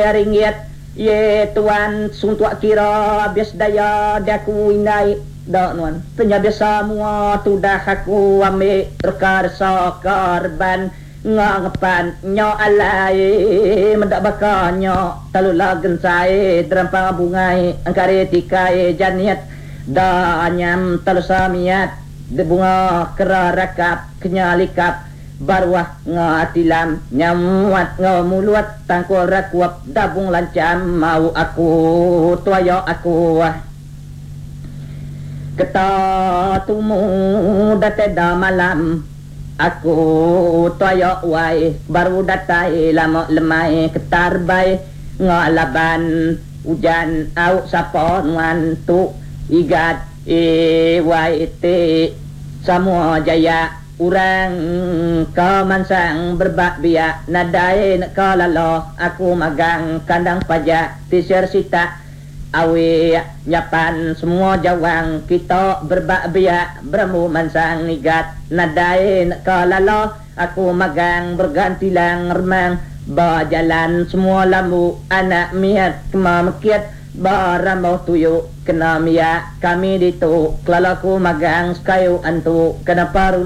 Ringgit. Ye tuan suntuk kira abis daya diaku indai da nuan. Penyabis semua tudah aku ambi reka resa ka reban nga ngepan nya alai meda baka nya talula gensai derampang bungai engkari tikai janit da anyam talusa miat de bunga kera rakap kenya likap Baruah nga tilam nyamuat enggau mulut tangkul rakup dabung lancham mau aku tuaya aku. Keta tumu datai da malam aku tuaya wai baru datai lama lemai ketar bai nga laban ujan au sapa nuan tu igat wai ti samua jaya. Urang ka mansang berebak biak nadai neka laloh aku magang kandang pajak tisir sitak awi nyapan semua jawang kita berebak biak berembu mansang ngigat nadai neka laloh aku magang bergantilang remang ba jalan semua lambu anak miat kema mekit ba rambau tuyu kena miak kami ditu kelala ku magang sekayu antu kena paru.